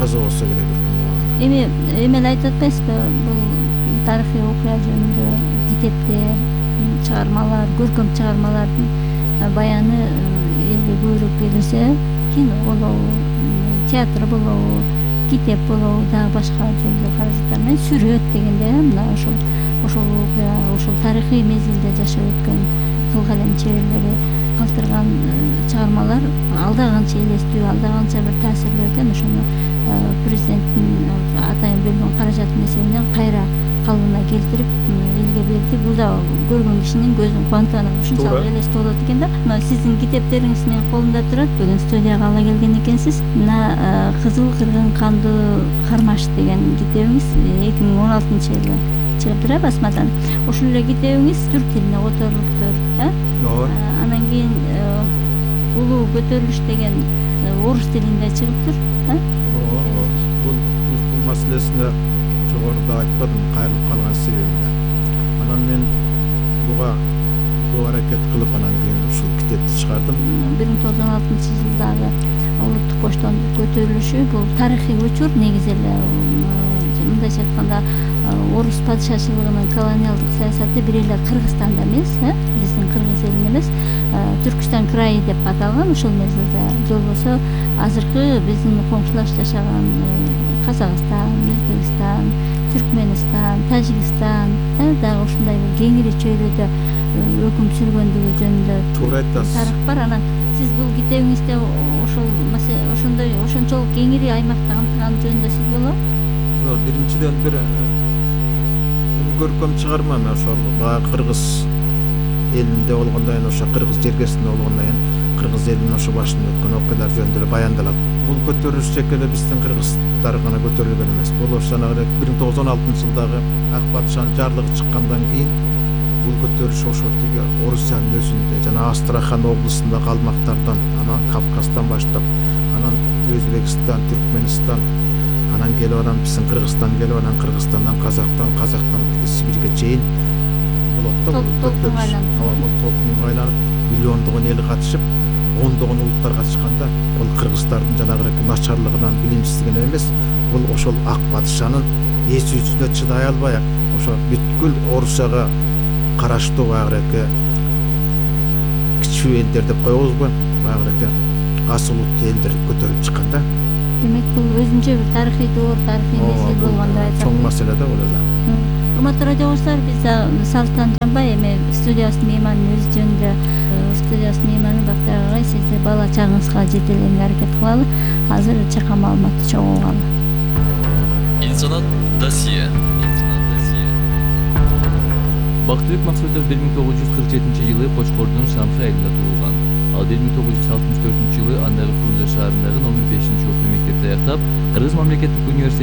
каза болсо керек эми эле айтып атпайсызбы, бул тарыхый окуя жөнүндө китептер, чыгармалар, көркөм чыгармалардын баяны элге көбүрөөк берилсе, кино болобу, театр болобу, китеп болобу, дагы башка жөнүндө каражаттар менен сүрөт дегенде мына ошол окуя, ошол тарыхый мезгилде жашап өткөн кыл калем чеберлери калтырган чыгармалар алда канча элестүү, алда канча бир таасирлүү экен, ошону президенттин атайын бөлгөн каражаттын эсебинен кайра калыбына келтирип элге берди. Бул да көргөн кишинин көзүн кубанып анан ушунчалык элестүү болот экен да. Мына сиздин китептериңиз менин колумда турат. Бүгүн студияга ала келген экенсиз. Мына Кызыл кыргын кандуу кармаш деген китебиңиз 2016-жылы чыгып басмадан. Ошол эле китебиңиз түрк тилине которулуптур, Ооба. Анан кийин улуу көтөрүлүш деген орус тилинде чыгыптыр, Ооба. Бул укук маселесине жогоруда айтпадым, кайрылып калган себебимде. Анан мен буга көп аракет кылып анан кийин ушул китепти чыгардым. 1916-жылдагы улуттук боштондук көтөрүлүшү бул тарыхый учур, негизи эле мындайча айтканда орус падышачылыгынын колониалдык саясаты бир эле Кыргызстанда эмес, биздин кыргыз элинин эмес, Түркүстан крайы деп аталган ушул мезгилде. Же болбосо азыркы биздин коңшулаш жашаган Казакстан, Өзбекстан, Түркмөнстан, Тажикстан, дагы ушундай бир кеңири чөйрөдө өкүм сүргөндүгү жөнүндө Туура айтасыз. тарых бар. Анан сиз бул китебиңизде ошондой ошончолук кеңири аймакты камтыган жөнүндө сөз болобу? Жок, биринчиден бир көркөм чыгарма ошол баягы кыргыз элинде болгондон кийин, ошо кыргыз жергесинде болгондон кийин кыргыз элинин ошо башынан өткөн окуялар жөнүндө эле баяндалат. Бул көтөрүлүш тек эле биздин кыргыздар гана көтөрүлгөн эмес. Бул ошо жанагы 1916-жылдагы ак падышанын жарлыгы чыккандан кийин бул көтөрүлүш ошо тиги Орусиянын өзүндө жана Астрахан облусундагы калмактардан, анан Кавказдан баштап, анан Өзбекстан, Түркмөнстан, анан келип анан биздин Кыргызстан келип, анан Кыргызстандан Казактан Сибирге чейин болот да. Толкунга айланып. Толкунга айланып, миллиондогон эл катышып, ондогон улуттар катышканда, бул кыргыздардын жанагы начарлыгынан, билимсиздигинен эмес, бул ошол ак падышанын эсүүсүнө чыдай албай, ошо бүткүл Орусияга караштуу баягы кичүү элдер деп коебузбу, баягы аз улуттуу элдер көтөрүлүп чыккан да. Демек бул өзүнчө бир тарыхый доор, тарыхый мезгил болгондо айтат. Чоң маселе да бул эле. Урматтуу радио угуучулар, биз Салтан Жанбай эми студиябыздын мейманын өзү жөнүндө студиябыздын мейманы Бактар агай сизди бала чагыңызга жетеленге аракет кылалы. Азыр чакан маалыматты чогуу алалы. Инсанат досье. Бактыбек Максутов 1947-жылы Кочкордун Шамшы айылында туулган. Ал 1964-жылы андагы Фрунзе шаарындагы номер 5-окуу мектепти аяктап, Кыргыз мамлекеттик университетинин